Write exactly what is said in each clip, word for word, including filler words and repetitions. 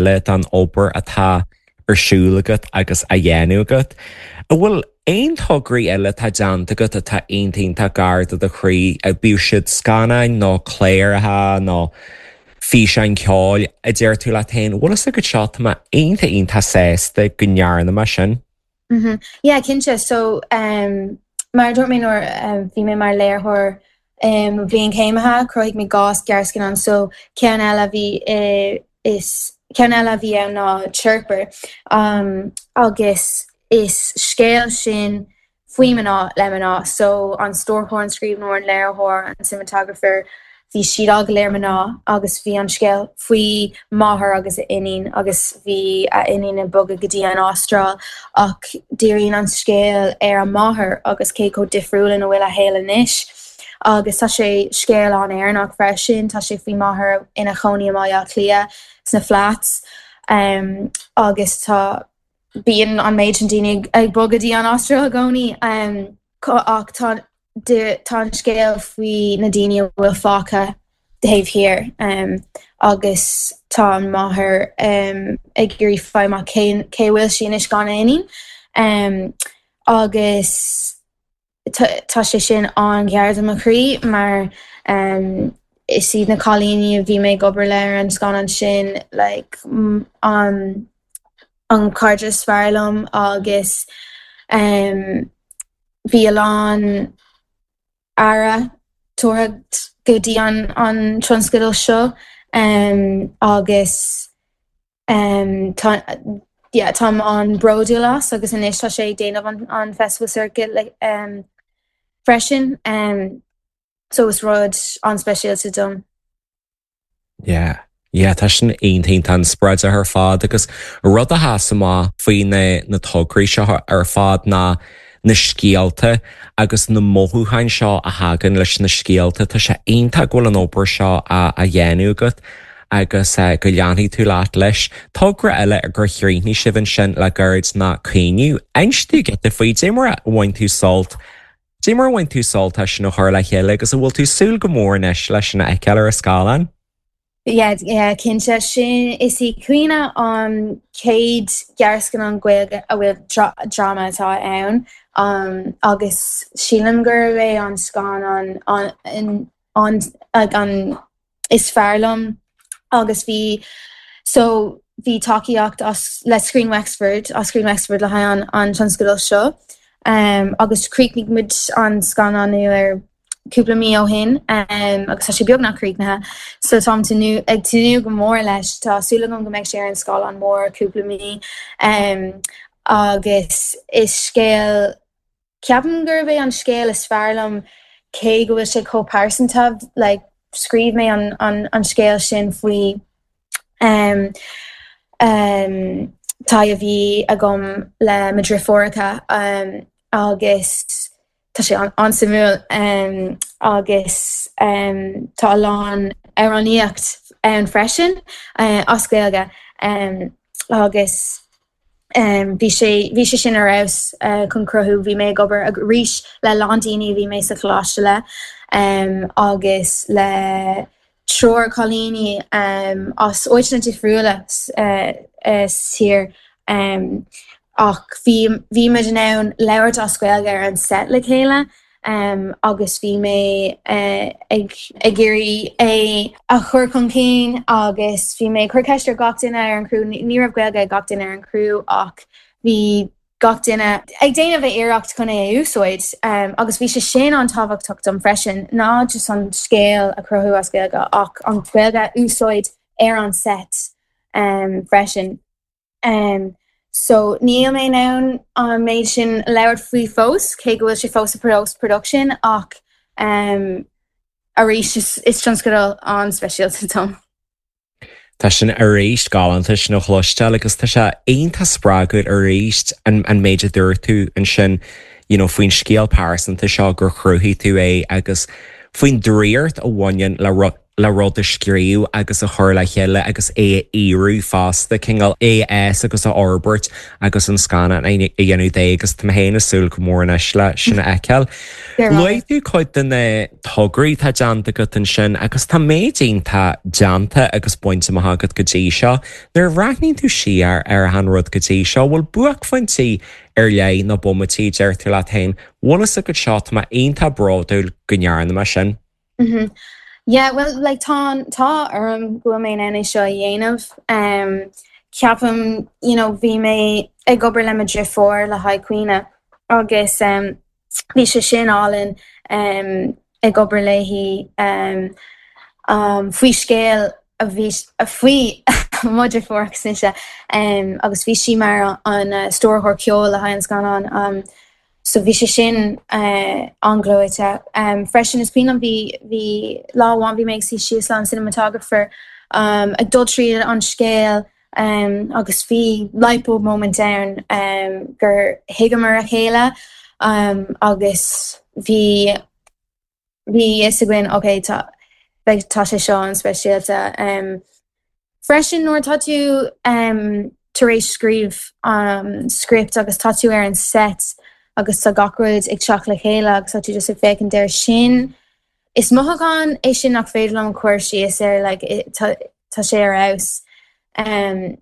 eile den obair atá ar siúl agat agus á dhéanamh agat. An bhfuil aon tograí eile atá déanta agat atá iontach gar do do chroí bíodh siad scannáin nó cláracha nó físeáin ceoil a deir tú leat féin, bhfuil fhios agat seo tá mé iontach iontach sásta go ndearna mé sin. Mm -hmm. Yeah, cinnte so um, mar dúirt mé nuair um, bhí mé mar léiritheoir um, bhliain céimithe chruthaigh mé dhá ghearrscannán so ceann eile bhí uh, is ceann eile bhí ann ná Chirper um, agus is scéal sin faoi mná le mná so an stiúrthóir an scríbhneoir an léiritheoir an cinematographer bhí siad go léir mná agus bhí an scéal faoi máthair agus a iníon agus bhí a iníon ag bogadh go dtí an Astráil ach díríonn an scéal ar an máthair agus cé chomh difriúil ina bhfuil a shaol anois. agus tá sé scéal an-Éireannach freisin tá sé faoi máthair ina cónaí i mBaile Átha Cliath sna flats um, agus tá bíonn an méid sin daoine ag bogadh go dtí an Astráil i gcónaí um, ach tá tá an scéal faoi na daoine a bhfuil fágtha taobh thiar um, agus tá an máthair um, ag iarraidh fáil amach cé cé bhfuil sí anois gan iníon um, agus tá sé sin an-ghar do mo chroí mar um, is iad na cailíní a bhí mé ag obair le ar an scannán sin like, an an cairde is fearr liom agus um, bhí a lán aire tugtha go dtí an an tionscadal seo um, agus um, tá yeah, táim an-bhródúil as agus anois tá sé déanamh an, an festival circuit like, um, freisin um, so is rud an-speisialta dom. Yeah. Yeah, tá sin iontach an-spreagúil ar fad agus rud a sheas amach faoi na na tograí seo ar fad ná na scéalta agus na mothúcháin seo a thagann leis na scéalta tá sé iontach go bhfuil an obair seo a, a dhéanamh agat agus uh, go leanfaidh tú leat leis. Togra eile gur chríochnaigh sibh ansin le gairid ná Caoineadh. Inis giota faoi dé mar a bhain tú sult. Dé mar a bhain tú sult sin a chur le chéile agus an bhfuil tú súil go mór anois leis sin a fheiceáil ar an scáileán? Yeah, yeah, cinnte sin is í Caoineadh an chéad ghearrscannán Gaeilge a bhfuil dráma atá ann um, agus sílim gurb é an scannán an, an, an, an is fearr liom agus bhí so bhí tacaíocht as le Screen Wexford as Screen Wexford le haghaidh an, an tionscadal seo um, agus chríochnaigh muid an scannánú ar cúpla mí ó shin um, agus tá sé beagnach críochnaithe so táim ag tnúth go mór leis tá súil agam go mbeidh sé ar an scáileán mór cúpla mí um, agus is scéal ceapaim gurb é an scéal is fearr liom cé go bhfuil sé chomh pearsanta like, scríobh mé an, an, an scéal sin faoi um, um, tá a bhí agam le mo dheirfiúracha um, agus tá sé an-suimiúil um, agus um, tá a lán amhránaíocht ann freisin uh, as Gaeilge um, agus um, bhí sé bhí sé sin ar fheabhas uh, chun cruthú bhí mé ag obair arís le lán daoine bhí mé sa choláiste le um, agus le triúr cailíní um, as áiteanna difriúla uh, uh, tír um, ach bhí bhí muid in ann labhairt as Gaeilge ar an set le chéile um, agus bhí mé uh, ag ag iarraidh é a chur chun cinn agus bhí mé chur ceist ar gach duine ar an crew ní raibh Gaeilge ag gach duine ar an crew ach bhí gach duine ag déanamh a iarracht chun é a úsáid um, agus bhí sé sin an-tábhachtach dom freisin ná just an scéal a chruthú as Gaeilge ach an Ghaeilge a úsáid ar an set um, freisin. Um, so níl mé in ann an méid sin labhairt faoi fós cé go bhfuil sé fós i post production ach um, arís is, is tionscadal an-speisialta dom. Tá sin arís galánta sin a chloisteáil agus tá sé iontach spreagúil arís an, an méid a dúirt tú ansin you know, faoin scéal pearsanta seo gur chruthaigh tú é agus faoin draíocht a bhaineann le, le rud a scríobh agus a chur le chéile agus é a fhíorú fosta, cineál é a fhás agus a fhorbairt agus an scannán a dhéanamh de agus tá mé féin ag súil go mór anois le sin a fheiceáil. Luaigh tú cuid de na tograí atá déanta agat ansin agus tá méid iontach déanta agus bainte amach agat go dtí seo. Nuair a bhreathnaíonn tú siar ar an rud go dtí seo, bhfuil buaicphointí ar leith nó bomaití a deir tú leat féin, bhfuil fhios agat seo tá mé iontach bródúil go ndearna mé sin. Mhm. Yeah, well like tá tá orm go bhfuil mé in ann é seo a dhéanamh. Um, ceapaim you know, bhí mé ag obair le mo dheirfiúr le haghaidh Caoineadh agus um, bhí sé sin álainn um, ag obair léi um, um, faoi scéal a bhí faoi mo dheirfiúr agus mise um, agus bhí sí mar an uh, stiúrthóir ceoil le haghaidh an scannán. Um, so bhí sé sin uh, an-ghleoite. Um, freisin is cuimhin bhí bhí lá amháin bhí mé ag suí síos le an cinematographer um, ag dul tríd an scéal um, agus bhí lightbulb moment ann um, gur thuigeamar a chéile um, agus bhí bhí fhios againn okay, tá beidh tá sé seo an speisialta. Um, freisin nuair tá tú um, tar éis scríobh um, script agus tá tú ar an set agus tá gach rud ag teacht le chéile agus tá tú just ag féachaint air sin. Is mothúchán é sin nach féidir liom cur síos ar like, tá tá sé ar fheabhas. Um,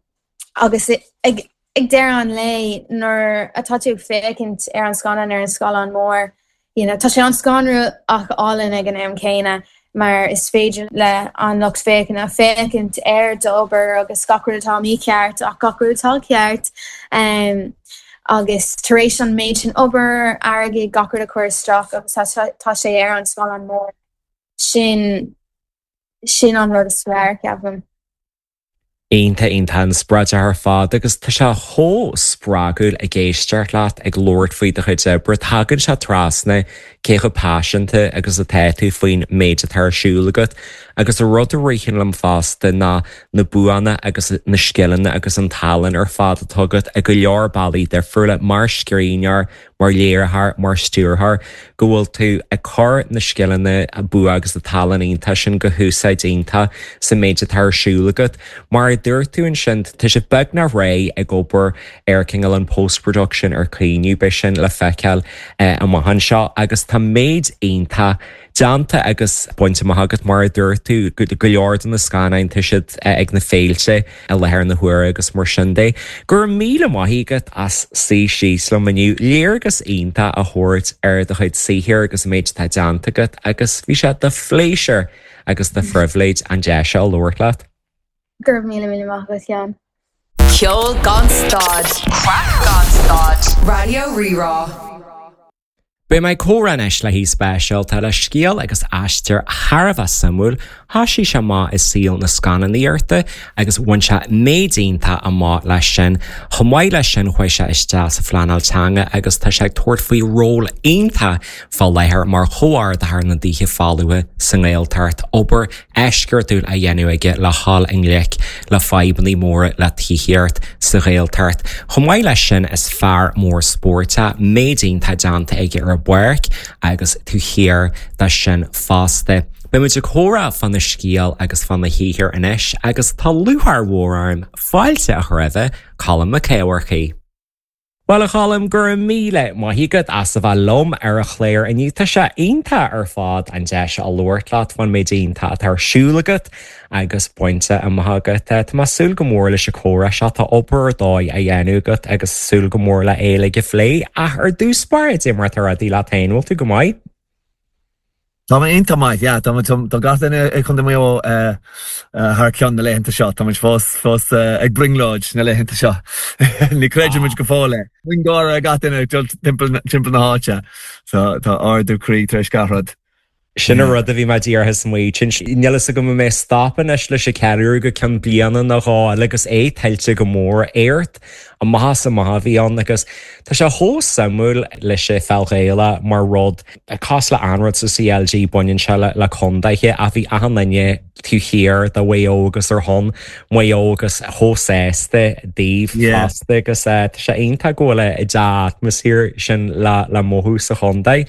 agus ag ag deireadh an lae nuair atá tú ag féachaint ar an scannán ar an scáileán mór, you know, tá sé an-scanrúil ach álainn ag an am céanna mar is féidir le an lucht féachana féachaint ar d'obair agus gach rud atá mícheart ach gach rud atá ceart. Um, agus tar éis an méid sin obair airgead gach rud a chur isteach agus tá sé ar an scáileán mór sin sin an rud is fearr ceapaim. Iontach iontach an-spreagúil ar fad agus tá sé chomh spreagúil ag éisteacht leat ag labhairt faoi do chuid oibre tagann sé trasna cé chomh paiseanta agus atá tú faoin méid atá ar siúl agat agus a rud a ritheann liom fosta ná na buanna agus na scileanna agus an tallann ar fad atá agat i go leor bealaí difriúla mar scríbhneoir, mar léiritheoir, mar stiúrthóir, go bhfuil tú ag cur na scileanna a bua agus na tallann iontach sin go húsáid iontach sa méid atá ar siúl agat. Mar a dúirt tú ansin tá sé beagnach réidh ag obair ar cineál an post-production ar Caoineadh beidh sin le feiceáil eh, amach anseo agus tá méid iontach déanta agus bainte amach agat mar a dúirt tú go leor de na scannáin tá siad eh, ag na féilte i láthair na huaire agus mar sin de. Go raibh míle maith agat as suí síos liom inniu léargas iontach a thabhairt ar do chuid saothair agus an méid atá déanta agat agus bhí sé de phléisiúr agus de phribhléid an deis seo labhairt leat. Go raibh míle míle maith agat Sheáin. Ceol gan stad, Craic gan stad, Raidió Rí-Rá. Beidh mé ag comhrá anois le haoi speisialta le scéal agus aistear thar a bheith suimiúil, thosaigh sé amach i saol na scannánaíochta agus bhain sé méid iontach amach leis sin. Chomh maith leis sin chuaigh sé isteach sa phleanáil teanga agus tá sé ag tabhairt faoi ról iontach fá láthair mar chomhordaitheoir na dTithe Folmha sa nGaeltacht, obair eisceachtúil á dhéanamh aige le dhul i ngleic le fadhbanna móra le tithíocht sa Ghaeltacht. Chomh maith leis sin is fear mór spóirt é, méid iontach déanta aige ar an bpáirc agus taobh thiar de sin fosta. Beimid ag comhrá fána scéal agus fána shaothar anois agus tá lúcháir mhór orm fáilte a chur roimh Colm Mac Eachmharcaigh. Well a Choilm go raibh míle maith agat as a bheith liom ar an chlár inniu tá sé iontach ar fad an deis a labhairt leat faoin méid iontach atá ar siúl agat agus bainte amach agat. Tá mé ag súil go mór leis an chomhrá seo tá obair ar dóigh á dhéanamh agat agus súil go mór le é le go phlé ach ar dtús báire cad é mar atá rudaí leat féin bhfuil tú go maith. Tá mé iontach maith, yeah, tá tá gach duine i Contae Mhaigh Eo eh, eh, thar cionn na laethanta seo, Tá muid fós fós eh, ag brionglóid na laethanta seo. Ní chreidimid go fóill é. Miongháire gach duine ag dul timpeall timpeall na háite, so tá ardú croí tar éis gach rud. Sin an rud a bhí mé díreach ag smaoineamh. Níl a fhios agam an mbeidh stop anois leis an cheiliúradh go ceann bliana nó dhó eile agus é tuillte go mór éacht amach is amach a bhí ann agus tá sé chomh suimiúil leis an pheil Ghaelach mar rud cosúil le aon rud sa CLG baineann sé le le contaetha ach bhí achan duine taobh thiar de Mhaigh Eo agus ar shon Mhaigh Eo agus chomh sásta daoibh Yeah. fosta agus eh, tá sé iontach go bhfuil an dea-atmaisféar sin le le mothú sa chontae.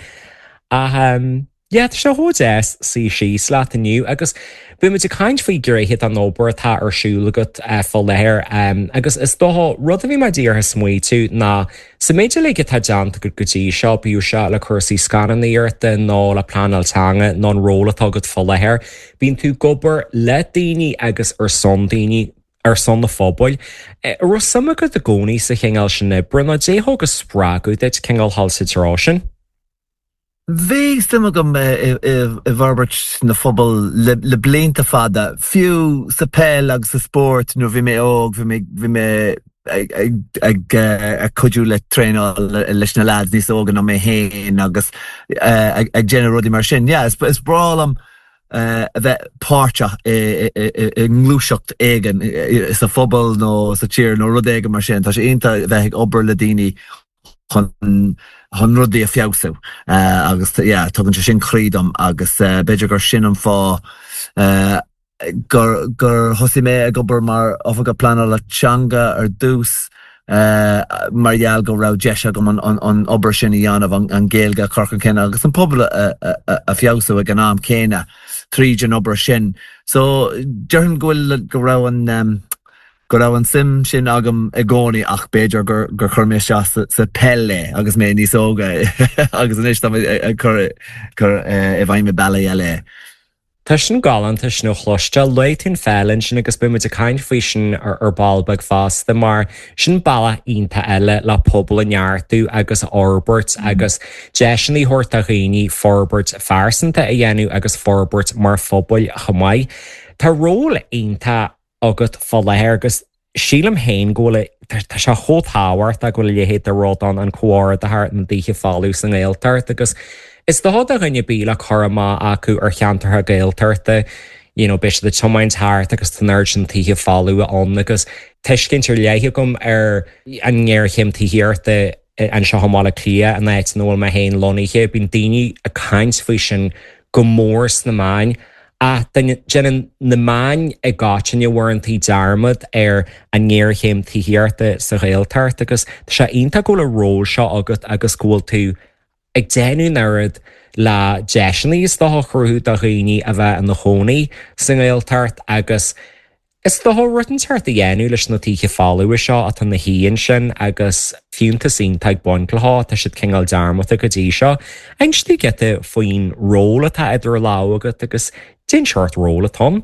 Ach um, Yeah, tá sé chomh deas suí síos leat inniu agus beidh muid ag caint faoi ghnéithe den obair atá ar siúl agat eh, fá láthair um, agus is dócha rud a bhí mé díreach ag smaoitiú ná sa méid uilig atá déanta agat go dtí seo bíodh sé le cúrsaí scannánaíochta nó le pleanáil teanga nó an ról atá agat fá láthair, bíonn tú ag obair le daoine agus ar son daoine ar son na phobail. Eh, raibh suim agat i gcónaí sa chineál sin oibre nó cad é a thug an spreagadh duit cineál dul sa treo sin. Bhí suim agam i bhforbairt na phobal le blianta fada, fiú sa peil agus sa spórt nuair bhí mé óg, bhí mé ag cuidiú le traenáil leis na lads níos óga ná mé féin agus ag déanamh rudaí mar sin. Yeah, is breá liom a bheith páirteach i ngluaiseacht éigin sa phobal nó sa tír nó rud éigin mar sin. Tá sé iontach a bheith ag obair le daoine chun chun rudaí a feabhsú uh, agus yeah, tugann sé sin croí dom agus uh, b'fhéidir gur sin an fáth uh, gur gur thosaigh mé ag obair mar oifigeach pleanála teanga ar dtús uh, mar gheall go raibh deis agam an, an, an obair sin a dhéanamh an, an Ghaeilge a chur chun cinn agus an pobal a, a, a, a feabhsú ag an am céanna tríd an obair sin. So déarfainn go bhfuil go raibh an um, go raibh an suim sin agam i gcónaí ach b'fhéidir gur gur chuir mé isteach sa, sa peil é agus mé níos óga agus anois tá ag cur cur i bhfeidhm i mbealaí eile. Tá sin galánta sin a chloisteáil luaigh tú an pheil ansin agus beidh muid ag caint faoi sin ar ar ball beag fosta mar sin bealach iontach eile le pobal a neartú agus a fhorbairt agus deiseanna a thabhairt do dhaoine forbairt phearsanta a dhéanamh agus forbairt mar phobal chomh maith. Tá ról iontach agat fá láthair agus sílim féin go bhfuil tá sé chomh tábhachtach go bhfuil a leithéid de rud ann an comhordaitheoir na dtithe folamh sa nGaeltacht agus is dócha do dhuine ar bith le cur amach acu ar cheantartha Gaeltachta you know, beidh siad ag tiomáint thart agus tá an oiread sin tithe folamh ann agus tuiscint ar leith agam ar an ngéarchéim tithíochta anseo i mBaile Átha Cliath an áit ina bhfuil mé féin lonnaithe, bíonn daoine ag caint faoi sin go mór sna meáin. Ach déanann na meáin i gcoitinne uaireanta dearmad ar an ngéarchéim tithíochta sa Ghaeltacht agus tá sé iontach go bhfuil an ról seo agat agus go bhfuil tú ag déanamh an oiread le deiseanna is dócha a chruthú do dhaoine a bheith ina chónaí sa nGaeltacht agus Is dócha rud inteacht a dhéanamh leis na tithe folamha seo atá ina shuí ansin agus fiúntas iontach ag baint leo, tá siad cineál dearmadta go dtí seo. Inis dúinn giota faoin ról atá idir lámha agat agus cén seort ról atá ann.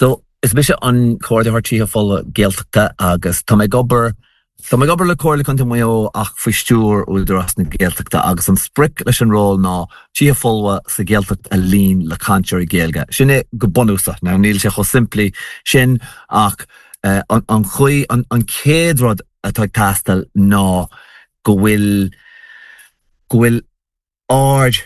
So is mise an Comhordaitheoir Tithe Folmha Gaeltachta agus tá mé ag obair Tá mé ag obair le Comhairle Contae Mhaigh Eo ach faoi stiúir Údarás na Gaeltachta agus an sprioc leis an ról ná tithe folmha sa Ghaeltacht a líon le cainteoirí Gaeilge. Sin é go bunúsach. Now níl sé chomh simplí sin ach uh, an, an chaoi an, an chéad rud atá ag teastáil ná go bhfuil go bhfuil aird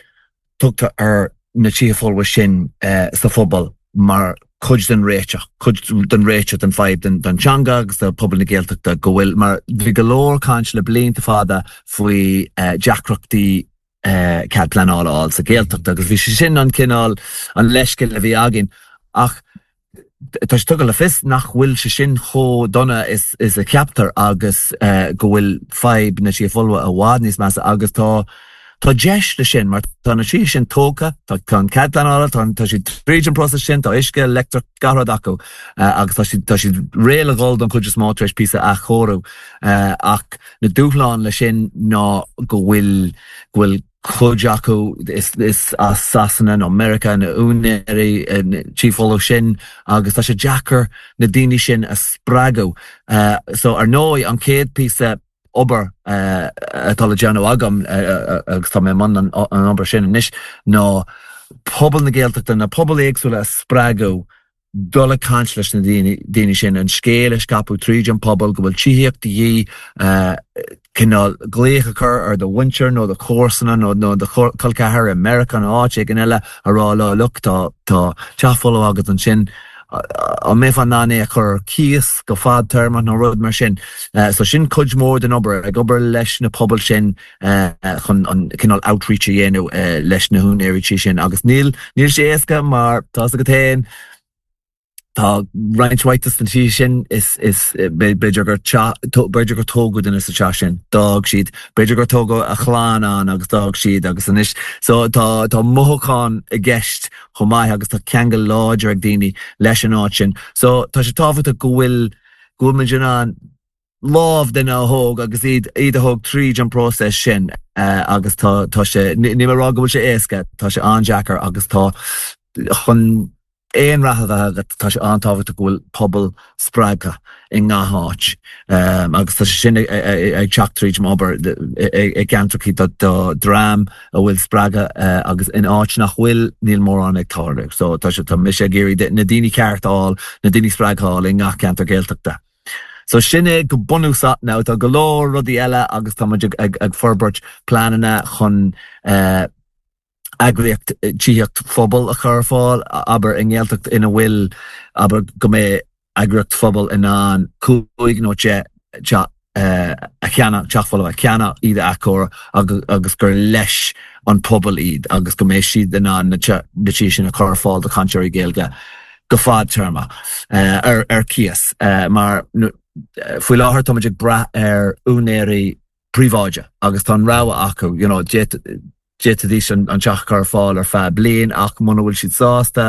tugtha ar na tithe folmha sin uh, sa phobal mar cuid den réiteach, cuid den réiteach den fadhb den, den teanga agus do pobal na Gaeltachta go bhfuil mar bhí go leor caint le blianta fada faoi uh, deacrachtaí uh, cead pleanála a fháil sa Ghaeltacht agus bhí sé sin an cineál an leithscéal a bhí againn ach tá sé tugtha le fios nach bhfuil sé sin chomh dona is, is a cheaptar agus uh, go bhfuil fadhb na tithe folmha i bhfad níos measa agus tá Tá deis le sin mar tá na tithe sin tógtha, tá an cead pleanála, tá tá siad tríd an process sin, tá uisce leictreach gach rud acu uh, agus tá siad tá siad réidh le dhul don chuid is mó tar éis píosa athchóiriú uh, ach na dúshláin le sin ná go bhfuil go bhfuil cuid acu is, is as Sasana nó America na úinéirí tithe folmha sin agus tá sé deacair na daoine sin a spreagadh. Uh, so ar ndóigh an chéad píosa obair uh, atá le déanamh agam uh, agus tá mé i mbun an, an obair sin anois ná pobal na Gaeltachta na pobail éagsúla a spreagadh dul ag caint leis na daoine daoine sin an scéal a scaipeadh tríd an pobal go bhfuil tithíocht de dhíth uh, cineál glaoch a chur ar do mhuintir nó do chomharsana nó nó do chol ceathar i Meiriceá nó áit éigin eile a rá leo look tá tá teach folamh agat ansin an mbeifeá in ann é a chur cíos go fadtéarma nó rud mar sin. Uh, so sin cuid mór den obair ag obair leis na pobail sin uh, chun an cineál outreach a dhéanamh uh, leis na húinéirí sin agus níl níl sé éasca mar tá agat féin Tá roinnt mhaith de na tithe sin is is b'fhéidir gur b'fhéidir gur tógadh duine sa teach sin d'fhág siad b'fhéidir gur tógadh a chlann ann agus d'fhág siad agus anois so tá tá mothúchán i gceist chomh maith agus tá ceangal láidir ag daoine leis an áit sin so tá sé tábhachtach go bhfuil go bhfuil muid in ann lámh duine a thóg agus iad iad a thóg tríd an próiseas sin agus tá tá sé ní mé rá go bhfuil sé éasca tá sé an-deacair agus tá chun aon rath a bheith agat tá sé an-tábhachtach go bhfuil pobal spreagtha i ngach áit agus tá sé sin ag teacht tríd m'obair i gceantracha do dream a bhfuil spreagadh agus in áit nach bhfuil níl mórán ag tarlú. So tá sé tá mise ag iarraidh na daoine ceart a fháil, na daoine spreagtha a fháil i ngach ceantar Gaeltachta. So sin é go bunúsach now tá go leor rudaí eile agus tá muid ag ag forbairt pleananna chun uh, eagraíocht tithíocht phobail a chur ar fáil abair i nGaeltacht ina bhfuil abair go mbeidh eagraíocht phobail in ann cúig nó deich teach a cheannach teach folamh a cheannach iad a athchóiriú agus agus gur leis an pobal iad agus go mbeidh siad in ann na tithe sin a chur ar fáil do chainteoirí Gaeilge go fadtéarma ar ar cíos mar faoi láthair táimid ag brath ar úinéirí príobháideacha agus tá an rogha acu you know, d'fhéadfaidís an teach a chur ar fáil ar feadh bliain ach muna bhfuil siad sásta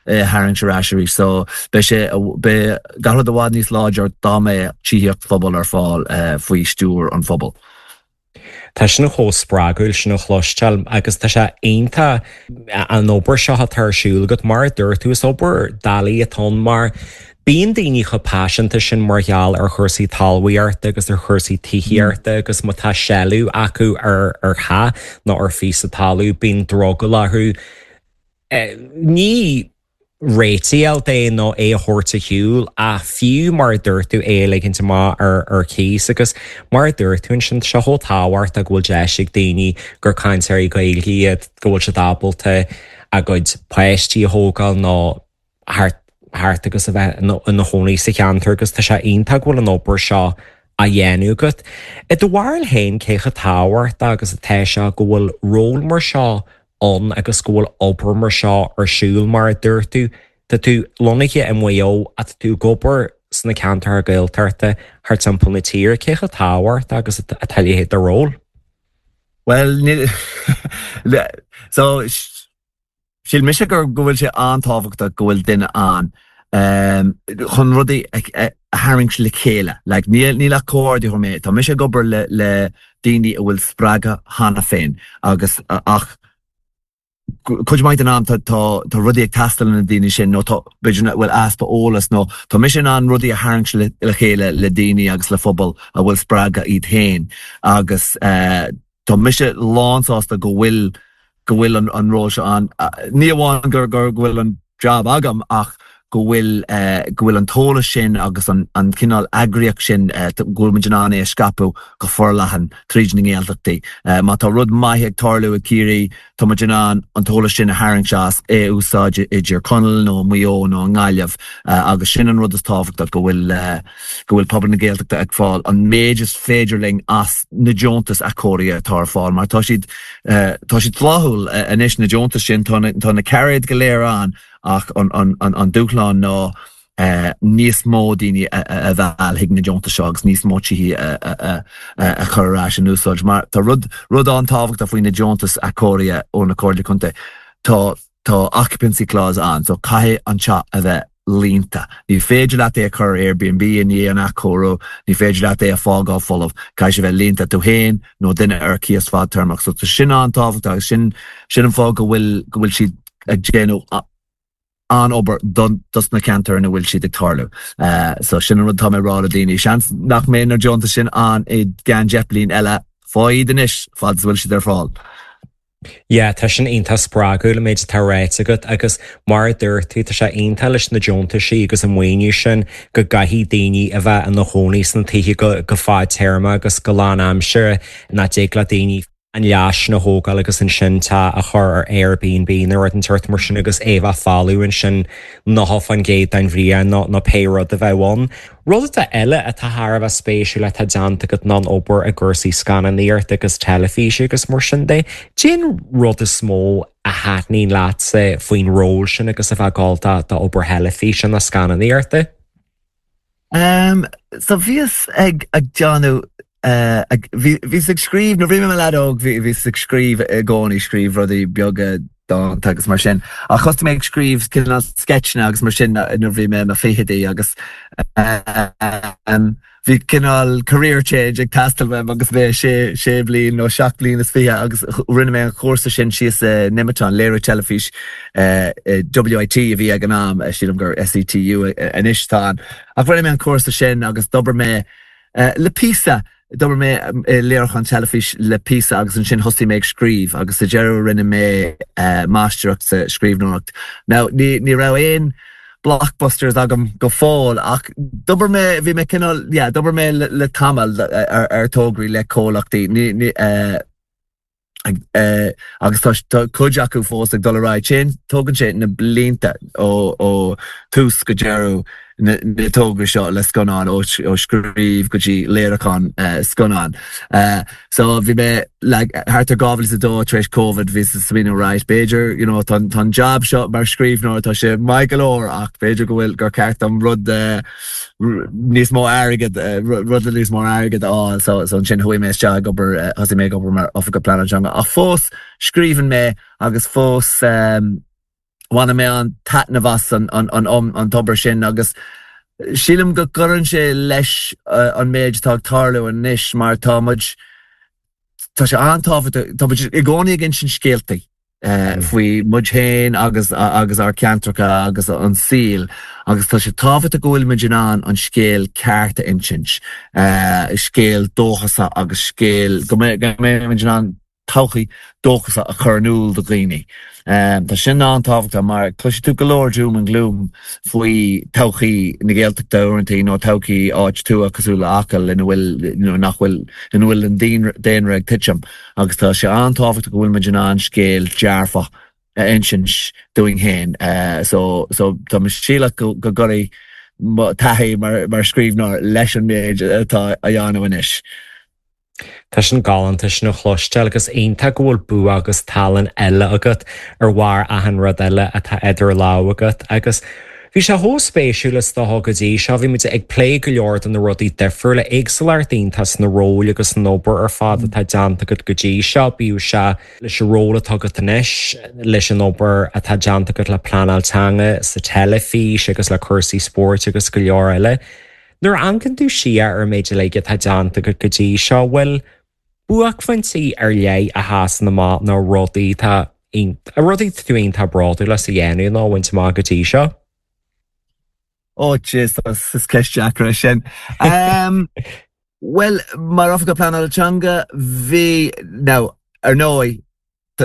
é tharraingt ar ais arís. So beidh sé beidh gach rud i bhfad níos láidir dá mbeadh tithíocht phobail ar fáil faoi stiúir an phobail. Tá sin chomh spreagúil sin a chloisteáil agus tá sé iontach an obair seo atá ar siúl agat mar a dúirt tú is obair doiligh atá ann mar bíonn daoine chomh paiseanta sin mar gheall ar chúrsaí talmhaíochta agus ar chúrsaí tithíochta agus má tá seilbh acu ar ar theach nó ar phíosa talún bíonn drogall orthu. Ní réitigh é nó é a thabhairt ar shiúl ach fiú mar a dúirt tú é a ligint amach ar ar cíos agus mar a dúirt tú ansin seo chomh tábhachtach go bhfuil deis ag daoine gur cainteoirí Gaeilge iad go bhfuil siad ábalta a gcuid páistí a thógáil nó thart thart agus a bheith ina chónaí sa cheantar agus tá sé iontach go bhfuil an obair seo á dhéanamh agat. I do bharúil féin cé chomh tábhachtach agus atá sé go bhfuil ról mar seo ann agus go bhfuil obair mar seo ar siúl mar a dúirt tú, Tá tú lonnaithe i Maigh Eo ach tá tú ag obair sna ceantair Gaeltachta thar timpeall na tíre cé chomh tábhachtach agus atá a leithéid de ról. Well so Shíl mise gur go bhfuil sé an-tábhachtach go bhfuil duine ann um, chun rudaí a tharraingt le chéile. Like, níl níl ach comhordaitheoir mé, Tá mise ag obair le le daoine a bhfuil spreagadh cheana féin agus ach cuid mhaith den am tá tá rudaí ag teastáil na daoine sin nó tá b'fhéidir bhfuil easpa eolas nó tá mise in ann rudaí a tharraingt le, le chéile le daoine agus le phobal a bhfuil spreagadh iad féin agus uh, tá mise lánsásta go bhfuil go bhfuil an, an ról seo ann. Ní amháin gur gur go bhfuil an job agam ach go bhfuil uh, go bhfuil an t-eolas sin agus an, an cineál eagraíocht sin uh, go bhfuil muid in ann é a scaipeadh go forleathan tríd na nGaeltachtaí. Uh, má tá rud maith ag tarlú i Ciarraí tá muid in ann an t-eolas sin a tharraingt as é úsáid idir Conall nó Maigh Eo nó an Ghaillimh uh, agus sin an rud is tábhachtach go bhfuil uh, go bhfuil pobal na Gaeltachta ag fáil an méid is féidir linn as na deontais athchóirithe atá ar fáil, mar tá siad uh, tá siad flaithiúil uh, anois na deontais sin tá na, tá na cairéid go léir ann ach an, an, an, an dúshlán ná uh, níos mó daoine a bheith chuig na deontais seo agus níos mó tithe a, a chur ar ais in úsáid. Mar tá rud rud an-tábhachtach faoi na deontais athchóirithe ó na Comhairle Contae. Tá tá occupancy clause ann, so caithfidh an teach a bheith líonta. Ní féidir leat é a chur Airbnb i ndiaidh an athchóiriú, ní féidir leat é a fágáil folamh, caithfidh sé bheith líonta tú féin nó duine ar cíos fadtéarmach. So tá sin an-tábhachtach agus sin sin an fáth go bhfuil go bhfuil siad ag déanamh an-obair dos na ceantair ina bhfuil siad ag tarlú. Uh, so sin an rud tá mé rá le daoine. Seans nach mbeidh na deontais sin ann i gceann deich bliain eile faigh iad anois fad is bhfuil siad ar fáil. Yeah, tá sin iontach spreagúil an méid atá ráite agat agus mar a dúirt tú tá sé iontach leis na deontaisí agus an maoiniú sin go gcaithfidh daoine a bheith ina chónaí sna tithe go, go fadtéarma agus go lánaimseartha nach dtig le daoine an leath sin a thógáil agus ansin teach a chur ar Airbnb nó rud den tsórt mar sin agus é bheith folamh ansin nócha faoin gcéad den bhliain nó nó pé rud a bheadh ann. Rud atá eile atá thar a bheith spéisiúil atá déanta agat ná an obair i gcúrsaí scannánaíochta agus teilifíse agus mar sin de. Cén rud is mó a thaitníonn leatsa faoin ról sin agus a bheith ag gabháil do d'obair theilifíse nó scannánaíochta? Um, so bhíos ag ag déanamh uh, ag, bhí, bhíos ag scríobh nuair bhí mé leaid óg bhí bhíos ag scríobh i gcónaí scríobh rudaí beaga dánta agus mar sin. Ach thosaigh mé ag scríobh cineál sketcheanna agus mar sin nuair bhí mé i mo fichidí agus um, bhí cineál career change ag teastáil uaim agus mé sé sé bliain nó seacht bliain is fiche agus rinne mé an cúrsa sin síos i Nemeton léiriú teilifís uh, WIT a bhí ag an am sílim gur SETU anois tá ann. Ach rinne mé an cúrsa sin agus d'obair mé uh, le píosa d'obair mé uh, léiriúchán teilifís le píosa agus ansin thosaigh mé ag scríobh agus sa deireadh rinne mé uh, máistreacht sa scríbhneoireacht. Now ní ní raibh aon blockbusters agam go fóill ach d'obair mé bhí mé cineál yeah, d'obair mé le, le tamall ar, ar tograí le comhlachtaí ní, ní, uh, uh, agus tá tá cuid acu fós ag dul ar aghaidh sin tógann sé na blianta ó ó tús go deireadh na, na tograí seo le scannán ó, ó scríobh go dtí léiriúchán uh, scannán. Uh, so bhí mé like, thart ar dhá mhíle is a dó tar éis COVID bhí smaoineamh right b'fhéidir you know, tá an job seo mar scríbhneoir tá sé maith go leor ach b'fhéidir go bhfuil gur ceart dom rud uh, níos mó airgead uh, rud le níos mó airgead á so so ansin chuaigh mé isteach ag obair uh, thosaigh mé ag obair mar oifigeach pleanála teanga ach fós scríobhann mé agus fós um, bhain mé an taitneamh as an, an, an, an, an tobar sin agus sílim go gcuireann sé leis uh, an méid atá ag tarlú anois mar tá muid tá sé an-tábhachtach tá muid i gcónaí ag insint scéaltaí uh, faoi muid féin agus agus ár gceantracha agus an saol agus tá sé tábhachtach go bhfuil muid in ann an scéal ceart a insint uh, scéal dóchasach agus scéal go mbeidh muid in ann todhchaí dóchasach a chur in iúl do dhaoine. Um, tá sin an-tábhachtach mar cloisfidh tú go leor doom and gloom faoi todhchaí na Gaeltachta uaireanta nó todhchaí áit tuaithe cosúil le Acaill ina bhfuil nach bhfuil ina bhfuil an daonra ag titim agus tá sé an-tábhachtach go bhfuil muid in ann scéal dearfach a insint dúinn féin. Uh, so, so tá sílim go go gcuireann taithí mar, mar scríbhneoir leis an méid atá á dhéanamh anois. Tá sin galánta sin a chloisteáil agus iontach go bhfuil bua agus tallann eile agat ar bharr achan rud eile atá idir lámha agat agus bhí sé chomh spéisiúil is dócha go dtí seo bhí muid ag plé go leor de na rudaí difriúla éagsúlacht iontach sna róil agus san obair ar fad atá déanta agat go dtí seo bíodh sé leis an ról atá agat anois leis an obair atá déanta agat le pleanáil teanga sa teilifís agus le cúrsaí spóirt agus go leor eile. Nuair a amharcann tú siar ar an méid uilig atá déanta agat go dtí seo bhfuil buaicphointí ar leith a sheasann amach nó rudaí tá rudaí tú iontach bródúil as a dhéanamh nó bhaint amach go dtí seo? Ó Jesus is ceist deacair sin. Um, well mar oifigeach pleanála teanga bhí now ar ndóigh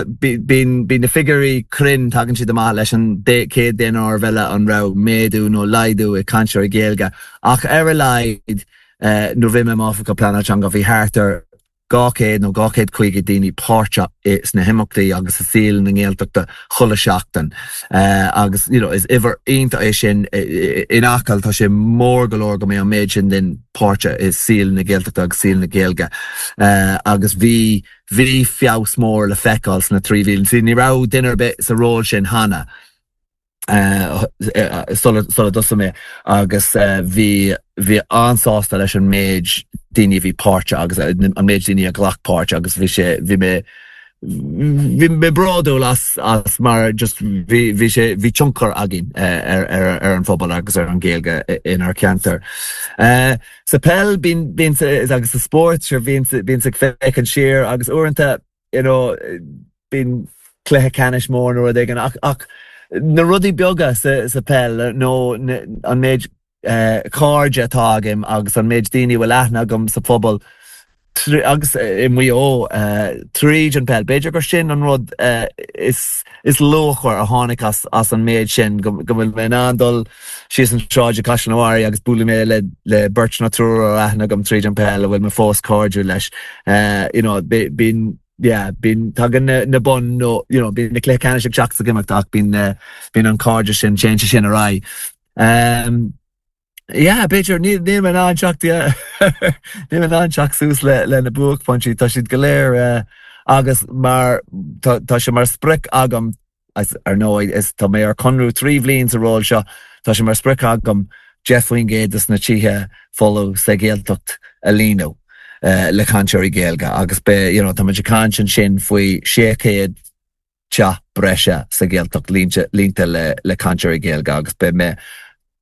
bíonn bíonn na figiúirí cruinn tagann siad amach leis an céad daonáireamh eile an raibh méadú nó laghdú i cainteoirí Gaeilge ach ar a laghad uh, nuair bhí mé oifigeach pleanála teanga bhí thart ar dhá chéad nó dhá chéad caoga daoine páirteach sna himeachtaí agus i saol na Gaeltachta chuile seachtain. Uh, agus you know, is uimhir iontach é sin in Acaill tá sé mór go leor go mbeidh an méid sin den páirteach i saol na Gaeltachta agus saol na Gaeilge. Uh, agus bhí bhí feabhas mór le feiceáil sna trí mhí. Ní raibh duine ar bith sa ról sin cheana. Uh, sula dtosaigh mé agus uh, bhí bhí an-sásta leis an méid daoine bhí páirteach agus an méid daoine a ghlac páirt agus bhí sé bhí mé bhí mé bródúil as as mar just bhí bhí sé bhí tionchar againn uh, ar, ar, ar an phobal agus ar an Ghaeilge inár gceantar. Uh, sa peil bíonn bíonn agus sa spórt sure bíonn bíonn ag féachaint siar agus uaireanta you know, bíonn cluiche ceannais mór nó rud éigin ach ach na rudaí beaga sa, sa peil nó an méid uh, cairde atá agam agus an méid daoine bhfuil aithne agam sa phobal agus i Maigh Eo uh, tríd an peil. B'fhéidir gur sin an rud uh, is, is luachmhaire a tháinig as, as an méid sin go bhfuil mé in dul síos an tsráid Caisleán an Bharraigh agus bualadh mé le, le beirt nó triúr aithne agam tríd an peil a bhfuil mé fós cairdiúil leis. Uh, you know, bíonn yeah, bíonn tagann na, na boinn nó you know, bíonn na cluichí ceannais ag teacht is ag imeacht ach bíonn uh, bíonn an cairdeas sin téann sé sin ar aghaidh. Um, yeah, b'fhéidir ní níl mé in ann teacht yeah. Níl mé in ann teacht suas le le na buaicphointí tá siad go léir uh, agus mar tá tá sé mar sprioc agam as ar ndóigh is tá mé ar conradh trí bhliain sa ról seo tá sé mar sprioc agam deich faoin gcéad des na tithe folamh sa Ghaeltacht a líonadh uh, le cainteoirí Gaeilge agus be you know, tá muid ag caint ansin faoi sé chéad teach breise sa Ghaeltacht líonta líonta le le cainteoirí Gaeilge agus be mé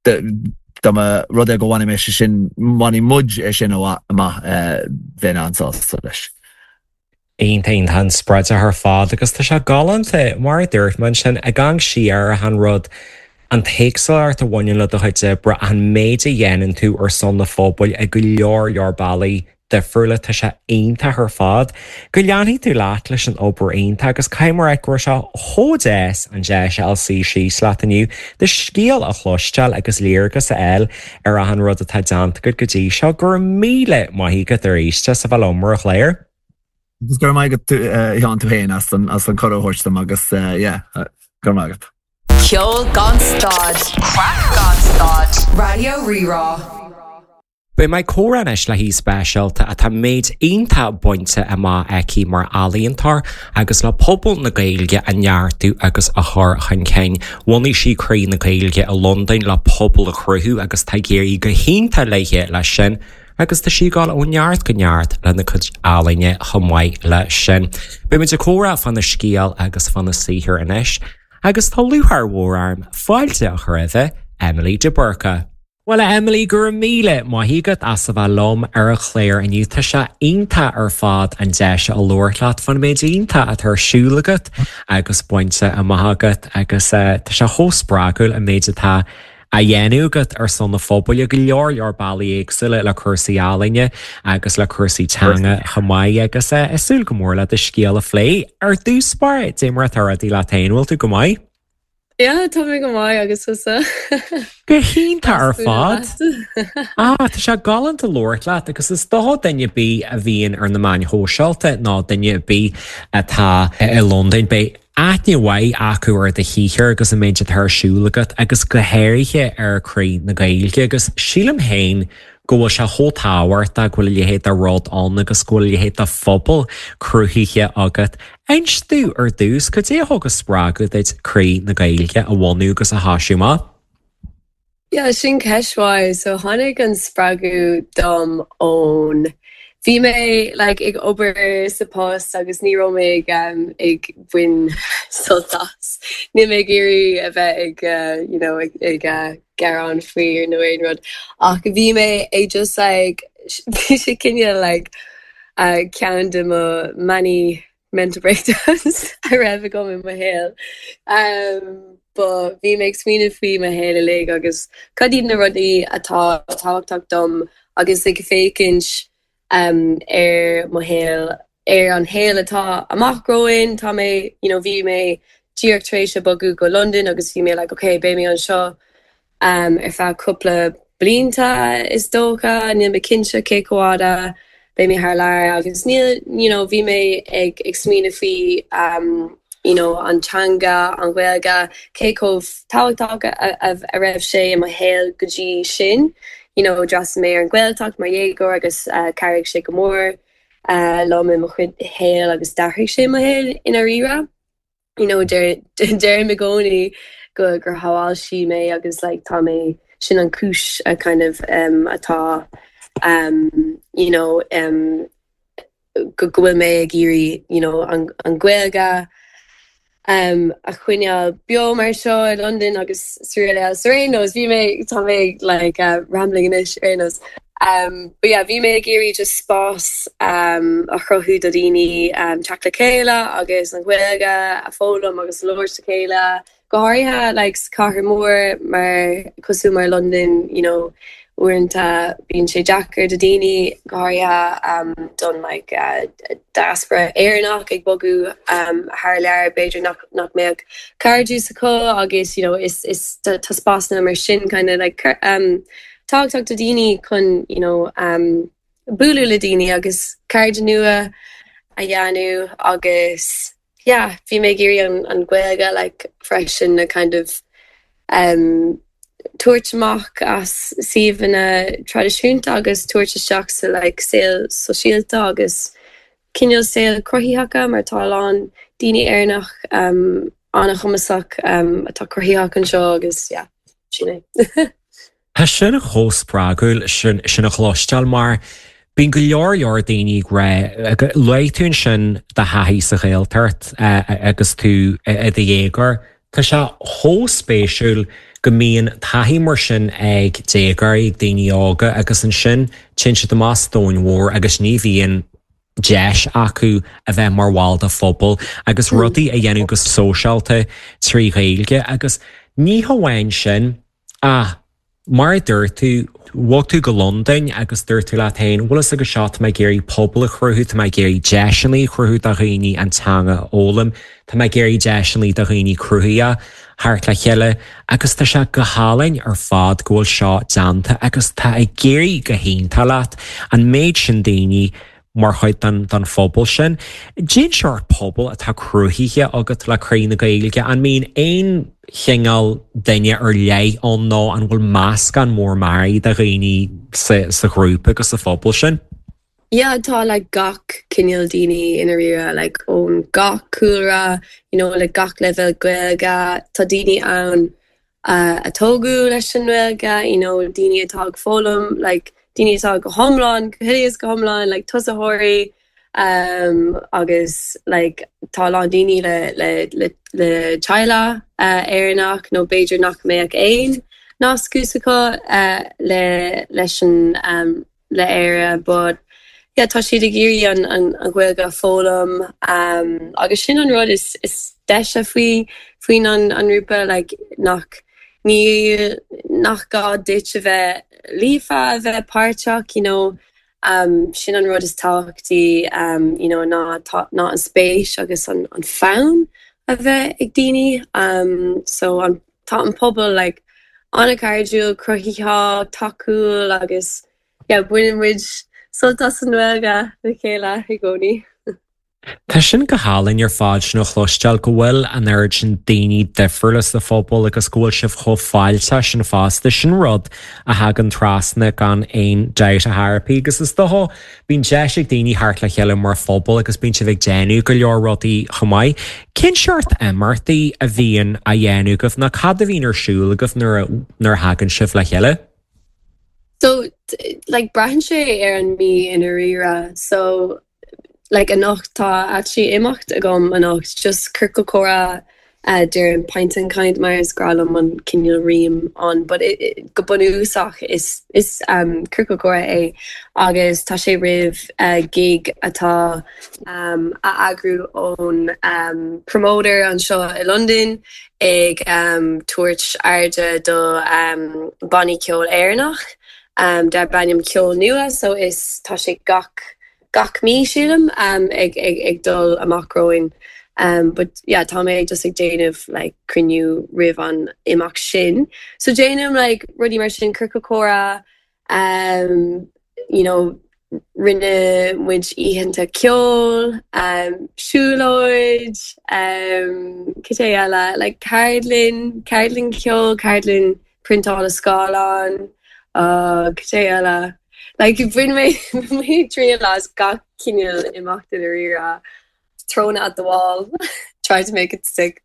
dá mba rud é go bhfuair mé sin bhain muid é sin amach bheinn an-sásta leis. Iontach iontach an-spreagúil ar fad agus tá sé galánta mar a dúirt mé sin ag amharc siar ar an rud an t-éagsúlacht a bhaineann le do chuid oibre an méid a dhéanann tú ar son na phobail ag go leor leor bealaí difriúla tá sé iontach ar fad. Go leanfaidh tú leat leis an obair iontach agus caithfidh mé go raibh sé chomh deas an deis a fháil suí síos leat inniu do scéal a chloisteáil agus léargas a fháil ar an rud atá déanta agat go dtí seo go raibh míle maith agat arís as a bheith liom ar an chlár. Agus gur maith tú Sheán tú féin as an as an cuireadh a thabhairt dom agus yeah, gur maith agat. Ceol gan stad. Craic gan stad. Raidió Rí-Rá. Beidh mé ag comhrá anois le haoi speisialta atá méid iontach bainte amach aici mar ealaíontóir agus le pobal na Gaeilge a neartú agus a chur chun cinn. Bhunaigh sí Croí na Gaeilge i Londain le pobal a chruthú agus tá ag éirí go hiontach léi leis sin. agus tá sí ag dul ó neart go neart lena cuid ealaíne chomh maith le sin. Beimid ag comhrá fána scéal agus fána saothar anois, agus tá lúcháir mhór orm fáilte a chur roimh Emily de Burca. Well Emily go raibh míle maith agat as a bheith liom ar an chlár inniu tá sé iontach ar fad an deis a labhairt leat faoin méid iontach atá ar siúl agat agus bainte amach agat agus uh, tá sé chomh spreagúil an méid atá á dhéanamh agat ar son na phobail go leor leor bealaí éagsúla le cúrsaí ealaíne agus le cúrsaí teanga chomh maith agus uh, ag súil go mór le do scéal a phlé ar dtús báire cad é mar atá rudaí leat féin bhfuil tú go maith? Yeah, tá mé go maith agus tusa. Go hiontach ar fad. Ah, tá sé galánta labhairt leat agus is dócha duine ar bith a bhíonn ar na meáin shóisialta ná duine ar bith atá i Londain beidh aithne mhaith acu ar do shaothar agus an méid atá ar siúl agat agus go háirithe ar Croí na Gaeilge agus sílim féin go bhfuil sé chomh tábhachtach go bhfuil a leithéid de rud ann agus go bhfuil a leithéid de phobal cruthaithe agat. Inis domh ar dtús cad é a thug an spreagadh duit Croí na Gaeilge a bhunú agus a thoisiú amach. Yeah, sin ceist mhaith, so tháinig an spreagadh dom ón Bhí mé like, ag obair sa post agus ní raibh mé ag, um, ag baint sult as. Níl mé ag iarraidh a bheith ag, uh, you know, ag, ag uh, gearán faoi nó aon rud. Ach bhí mé ag just like, bhí sé cineál like, uh, ceann de mo many mental breakdowns a raibh agam i mo shaol. Um, but bhí mé ag smaoineamh faoi mo shaol uilig agus cad iad na rudaí atá tábhachtach dom agus ag féachaint um, ar mo shaol ar an shaol atá amach romhainn tá mé you know, bhí mé díreach tar éis a bogadh go London agus bhí mé like, okay, beidh mé anseo um, ar feadh cúpla blianta is dócha níl mé cinnte cé chomh fada beidh mé thar lear agus níl you know, bhí mé ag ag smaoineamh faoi um, you know, an teanga an Ghaeilge cé chomh tábhachtach a, a, a raibh sé i mo shaol go dtí sin. You know, d'fhreastail mé ar an Ghaeltacht mar dhéagóir agus uh, chabhraigh sé go mór uh, liom i mo chuid shaol agus d'athraigh sé mo shaol i ndáiríre. You know, deirim i gcónaí go gur shábháil sí mé agus like, tá mé sin an chúis a kind of um, atá um, you know, um, go go bhfuil mé ag iarraidh you know, an, an Ghaeilge um, a choinneáil beo mar seo i London agus sraith ar aon nós bhí mé tá mé like, uh, rambling anois ar aon nós. Um, but yeah, bhí mé ag iarraidh just spás um, a chruthú do daoine um, teacht le chéile agus an Ghaeilge a fhoghlaim agus labhairt le chéile. Go háirithe like, cathair mór mar cosúil mar London, you know, uaireanta bíonn sé deacair do daoine go háirithe um, don like, uh, diaspora Éireannach ag bogadh um, thar lear b'fhéidir nach, nach mbeadh cairde acu agus you know, is, is tá spásanna mar sin kind of like, um, tábhachtach do daoine chun you know, um, bualadh le daoine agus cairde nua a dhéanamh agus yeah bhí mé ag iarraidh an an Ghaeilge like freisin a kind of um, tabhairt amach as suíomhanna traidisiúnta agus tabhairt isteach sa like saol sóisialta agus cineál saol cruthaitheach mar tá a lán daoine Éireannach um, an-chumasach um, atá cruthaitheach anseo agus yeah, sin é. Tá sin chomh spreagúil sin sin a chloisteáil mar bíonn go leor leor daoine ré luaigh tú ansin do thaithí sa Ghaeltacht agus tú i do dhéagóir. Tá sé chomh spéisiúil go mbíonn taithí mar sin ag déagóirí ag daoine óga agus ansin téann siad amach sa domhan mhór agus ní bhíonn deis acu a bheith mar bhall de phobal agus rudaí a dhéanamh go sóisialta trí Ghaeilge agus ní hamháin sin ach mar a dúirt tú bhog tú go Londain agus dúirt tú leat féin bhfuil agus seo tá mé ag iarraidh pobal a chruthú tá mé ag iarraidh deiseanna a chruthú do dhaoine an teanga a fhoghlaim, tá mé ag iarraidh deiseanna do dhaoine cruthaithe theacht le chéile agus tá sé go hálainn ar fad go bhfuil seo déanta agus tá ag éirí go hiontach leat an méid sin daoine mar chuid den den phobal sin. Cén sórt pobal atá cruthaithe agat le Croí na Gaeilge an mbíonn aon chineál duine ar leith ann nó an bhfuil meascán mór mearaí de dhaoine sa, sa ghrúpa agus sa phobal sin? Yeah, tá like gach cineál daoine i ndáiríre like ón gach cúlra, you know, le gach leibhéal Gaeilge, tá daoine ann uh, a tógadh leis an nGaeilge, you know, daoine atá ag foghlaim, like daoine atá go hiomlán, go huile is go hiomlán, like tosaitheoirí, um, agus like tá lán daoine le le le le teaghlach uh, Éireannach nó b'fhéidir nach mbeadh aon nasc acu uh, le leis an um, le Éire, but yeah, tá siad ag iarraidh an an, an Ghaeilge a fhoghlaim um, agus sin an rud is, is deise faoi faoin an, an ngrúpa like, nach ní nach gá duit a bheith líofa a bheith páirteach you know, um, sin an rud is tábhachtaí um, you know, ná, tá, ná an spéis agus an, an fonn a bheith ag daoine um, so an, tá an pobal like, an-chairdiúil cruthaitheach tacúil agus yeah, baineann muid sult as an nGaeilge le chéile i gcónaí. Tá sin go hálainn ar fad sin a chloisteáil go bhfuil an oiread sin daoine difriúla sa phobal agus go bhfuil sibh chomh fáilteach sin fosta sin rud a thagann trasna gan aon dabht a therapy agus is dócha bíonn deis ag daoine theacht le chéile mar phobal agus bíonn sibh ag déanamh go leor rudaí chomh maith. Cén seort imeachtaí a bhíonn á dhéanamh agaibh nó cad a bhíonn ar siúl agaibh nuair nuair a thagann sibh le chéile? So like braitheann sé ar an mí i ndáiríre so like anocht tá actually imeacht agam anocht just ciorcal comhrá uh, deirim pint and kind mar is breá liom an cineál rím an but it, it, go bunúsach is is um, ciorcal comhrá é agus tá sé roimh uh, gig atá um, á eagrú ón um, promoter anseo i London ag um, tabhairt airde do um, bannaí ceoil Éireannach um, darb ainm ceol nua so is tá sé gach gach mí sílim um, ag, ag, ag dul amach romhainn. Um, but yeah, tá mé just ag déanamh like, cruinniú roimh an imeacht sin. So déanaim like, rudaí mar sin ciorcal comhrá um, you know, rinne muid oícheanta ceoil, um, siúlóid, um, cad eile, like ceardlann, ceardlann ceoil, ceardlann priontála scáileán, uh, cad eile. Like bhain mé mé triail as gach cineál imeacht i ndáiríre thrown at the wall, try to make it stick.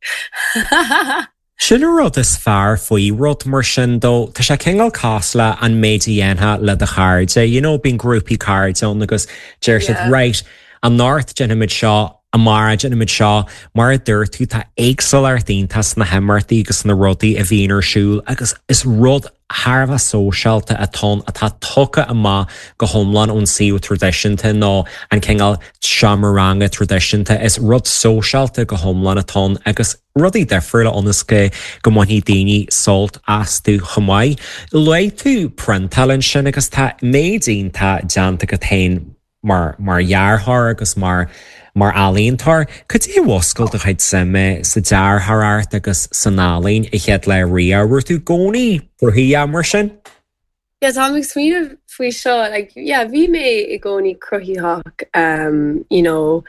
Sin an rud is fearr faoi rud mar sin dó Tá sé cineál cosúil le an méid a dhéanfá le do chairde, you know, bíonn grúpaí cairde ann agus deir siad Yeah. right anocht déanfaimid seo amárach déanfaimid seo mar a dúirt tú tá éagsúlacht iontach sna himeachtaí agus na rudaí a bhíonn ar siúl agus is rud thar a bheith sóisialta atá atá tugtha amach go hiomlán ón suíomh traidisiúnta nó an cineál seomra ranga traidisiúnta is rud sóisialta go hiomlán atá agus rudaí difriúla ionas go go mbainfidh daoine sult astu chomh maith. Luaigh tú priontáil ansin agus tá méid iontach déanta agat féin mar mar dhearthóir agus mar mar ealaíontóir, Cad é a mhúscail do chuid suime sa dearthóireacht agus san ealaín i chéad le ria, Raibh tú i gcónaí cruthaitheach mar sin? Yeah, tá ag smaoineamh faoi seo like, yeah, bhí mé i gcónaí cruthaitheach um, you know,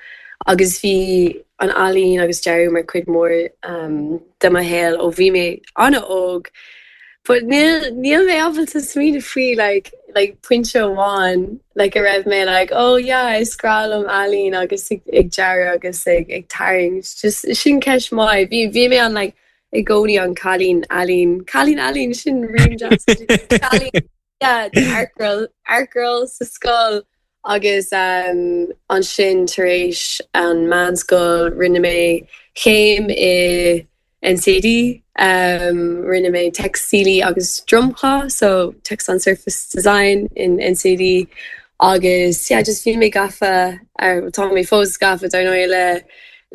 agus bhí an ealaín agus dearadh mar chuid mór um, de mo shaol ó bhí mé an-óg. But níl níl mé ábalta smaoineamh faoi like, like pointe amháin like a raibh mé like oh yeah is breá liom ealaín agus ag, ag dearadh agus ag, ag tarraingt just sin ceist maith bhí bhí mé an like i gcónaí an cailín ealaín cailín ealaín sin rím cailín yeah, art girl art girl sa scoil agus um, ansin tar éis an meánscoil rinne mé céim i NCAD um, rinne mé teicstílí agus dromchla so textile and surface design in NCAD agus yeah, just bhí mé gafa ar tá mé fós gafa dar ndóigh le